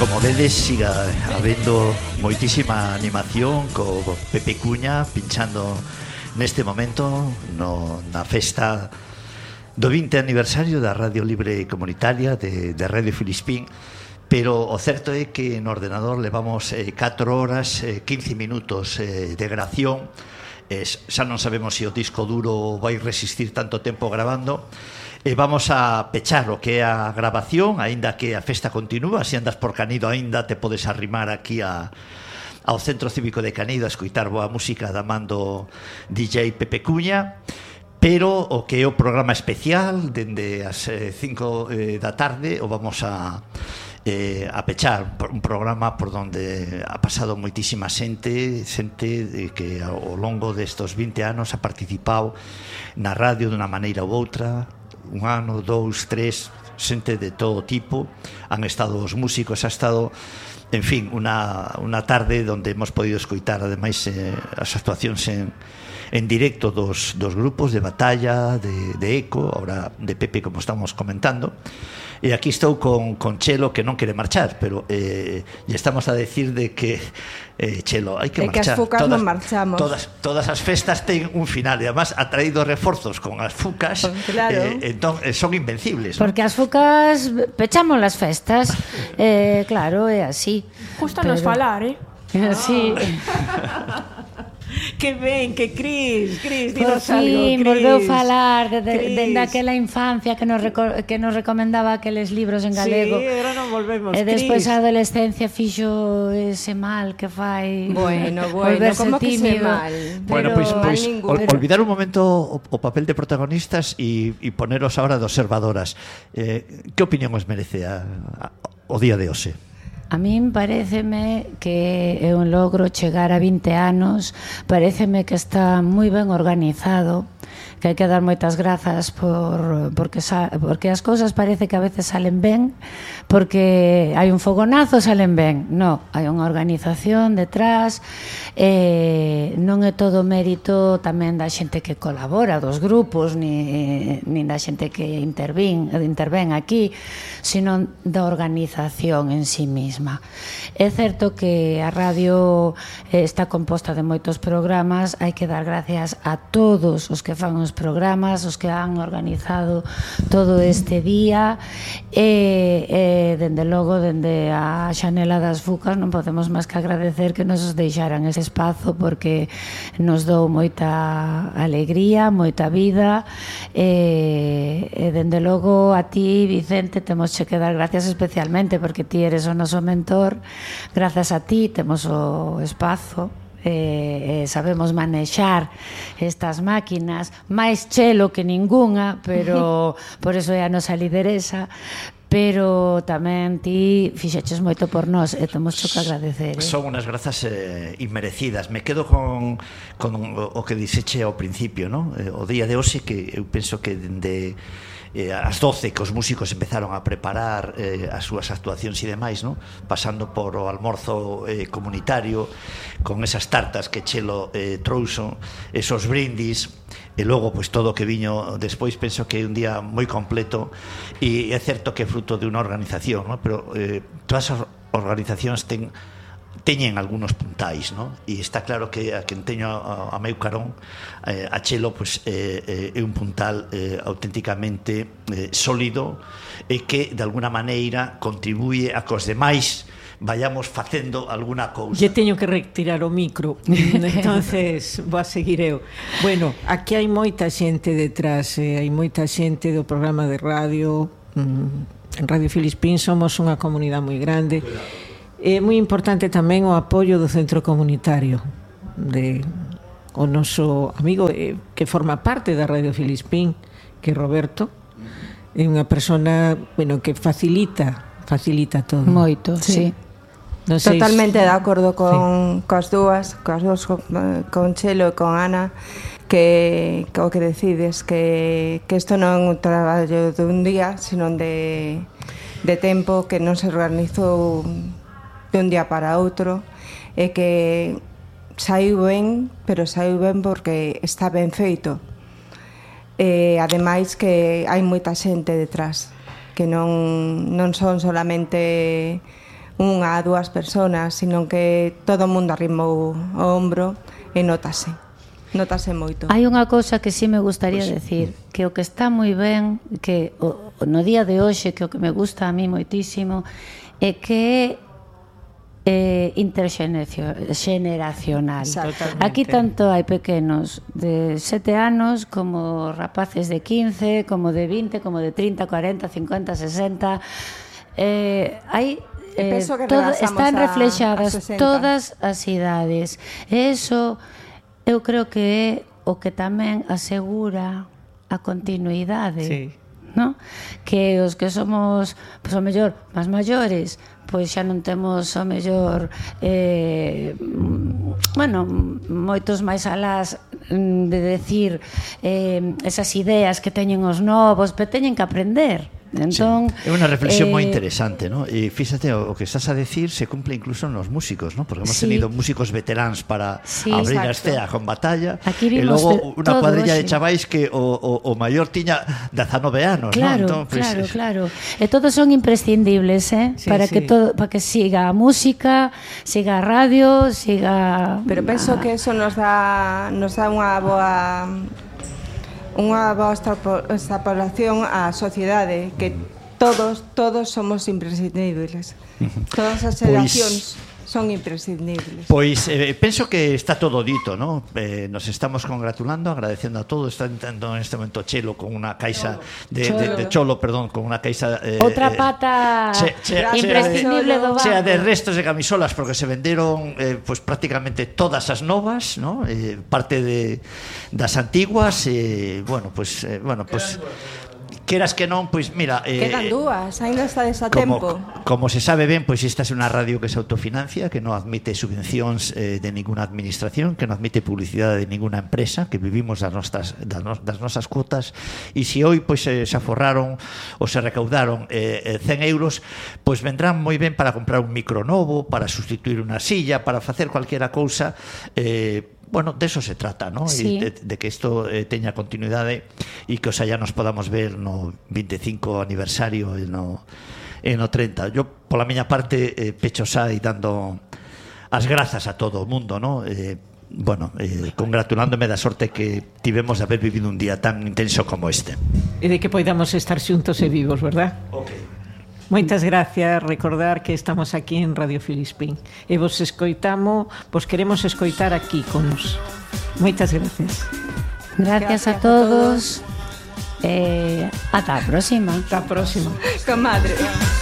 Como vedes, siga habendo moitísima animación co Pepe Cuña pinchando neste momento na festa do 20 aniversario da Radio Libre Comunitaria de Radio Filispín. Pero o certo é que no ordenador levamos 4 horas 15 minutos de grabación. Xa non sabemos se o disco duro vai resistir tanto tempo grabando. Vamos a pechar o que é a grabación, aínda que a festa continúa. Se andas por Canido aínda te podes arrimar aquí ao Centro Cívico de Canido a escoitar boa música da mando DJ Pepe Cuña. Pero o que é o programa especial dende as 5 da tarde o vamos a pechar, un programa por donde ha pasado moitísima xente que ao longo destos 20 anos ha participado na radio dunha maneira ou outra, un ano, 2, 3, xente de todo tipo. Han estado os músicos, ha estado, en fin, unha tarde onde hemos podido escoitar ademais as actuacións en directo dos grupos de Batalla, de Eco, ahora de Pepe, como estamos comentando. E aquí estou con Chelo, que non quere marchar, pero lle estamos a decir de que Chelo, hai que marchar. Que as fucas non marchamos. Todas as festas ten un final, e además ha traído reforzos con as fucas, claro. Entón son invencibles. Porque as fucas pechamos las festas, claro, é así. Justo nos falar, Sí. Que ben, que Cris, por fin volveu falar dende aquela infancia que nos recomendaba aqueles libros en galego. Sí, agora non volvemos, e despois a adolescencia fixo ese mal que fai. Bueno, volverse como tímido. que se mal? Bueno, pois olvidar un momento o papel de protagonistas e poneros ahora de observadoras. Que opinión os merece o día de hoxe? A min paréceme que é un logro chegar a 20 anos, paréceme que está moi ben organizado, que hai que dar moitas grazas porque as cousas parece que a veces salen ben, porque hai un fogonazo, salen ben. No, hai unha organización detrás, non é todo mérito tamén da xente que colabora, dos grupos, nin da xente que intervén aquí, sino da organización en sí misma. É certo que a radio está composta de moitos programas, hai que dar gracias a todos os que fan os programas, os que han organizado todo este día, e dende logo, dende a xanela das fucas, non podemos máis que agradecer que nos deixaran ese espazo, porque nos dou moita alegría, moita vida, e dende logo a ti, Vicente, temos que dar gracias especialmente, porque ti eres o noso mentor. Grazas a ti temos o espazo, sabemos manexar estas máquinas, máis Chelo que ningunha, pero por eso é a nosa lideresa. Pero tamén ti fixeches moito por nós e temos que agradecer. Son unhas grazas inmerecidas. Me quedo con o que dixeche ao principio, ¿no? O día de hoxe, que eu penso que dende as 12 que os músicos empezaron a preparar as súas actuacións e demais, ¿no? Pasando por o almorzo comunitario con esas tartas que Chelo trouxo, esos brindis, e logo pois todo o que viño despois. Penso que é un día moi completo, e é certo que é fruto de unha organización, ¿no? Pero todas as organizacións teñen algúns puntais, ¿no? E está claro que a quen teño a meu carón, a Chelo, pois é un puntal auténticamente sólido, e que de alguna maneira contribuye a que os demais vayamos facendo alguna cousa. Lle teño que retirar o micro, entonces vou a seguir eu. Bueno, aquí hai moita xente detrás, hai moita xente do programa de radio. En Radio Filispín somos unha comunidade moi grande. É moi importante tamén o apoio do centro comunitario, o noso amigo que forma parte da Radio Filispín, que é Roberto. É unha persona, bueno, que facilita todo. Moito, sí. No sei, totalmente de acordo con as dúas, con Chelo e con Ana, que o que decides que isto non é un traballo de un día, sino de tempo, que non se organizou de un día para outro, e que saiu ben, pero saiu ben porque está ben feito. Ademais que hai moita xente detrás, que non son solamente unha a dúas personas, sino que todo o mundo arrimou o ombro e notase moito. Hai unha cousa que sí me gustaría decir, que o que está moi ben, que no día de hoxe, que o que me gusta a mí moitísimo, é que interxeneracional. Aquí tanto hai pequenos de 7 anos como rapaces de 15, como de 20, como de 30, 40, 50, 60. Hai están reflexadas todas as idades. E iso eu creo que é o que tamén asegura a continuidade. Sí. ¿No? Que os que somos, pois, o mellor, máis maiores, pois xa non temos o mellor moitos máis alás de decir esas ideas que teñen os novos, pero teñen que aprender. Entón, sí. É unha reflexión moi interesante, ¿no? E fíxate, o que estás a decir se cumple incluso nos músicos, ¿no? Porque hemos tenido músicos veteráns para abrir a escena con batalla, e logo unha cuadrilla de chavais que o maior tiña 19 anos, claro, ¿no? Entón, pues, claro. E todos son imprescindibles, sí, para que para que siga a música, siga a radio, siga. Pero penso que eso nos dá unha boa extrapolación á sociedade, que todos somos imprescindibles. Todas as xeracións son imprescindibles. Pois penso que está todo dito, ¿no? Nos estamos congratulando, agradecendo a todos. Está entrando en este momento Chelo con unha caixa de Cholo, perdón, con unha caixa outra pata imprescindible do banco. Chea de restos de camisolas, porque se venderon pues prácticamente todas as novas, ¿no? Parte das antiguas, bueno, pues queras que non, pois mira, quedan dúas, ainda estades a tempo. Como se sabe ben, pois esta é unha radio que se autofinancia, que non admite subvencións de ninguna administración, que non admite publicidade de ninguna empresa, que vivimos das nosas cuotas, e se hoy pois se aforraron ou se recaudaron 100 euros, pois vendrán moi ben para comprar un micro novo, para sustituir unha silla, para facer cualquiera cousa. Bueno, de eso se trata, ¿no? Sí. De que isto teña continuidade e que xa nos podamos ver no 25 aniversario e no 30. Yo, pola miña parte, pecho xa e dando as grazas a todo o mundo, ¿no? Congratulándome da sorte que tivemos de haber vivido un día tan intenso como este. E de que podamos estar xuntos e vivos, verdad? Ok. Moitas gracias, recordar que estamos aquí en Radio Filispín e vos queremos escoitar aquí con nos. Moitas gracias. Gracias a todos. Ata a próxima. Ata a próxima. Comadre.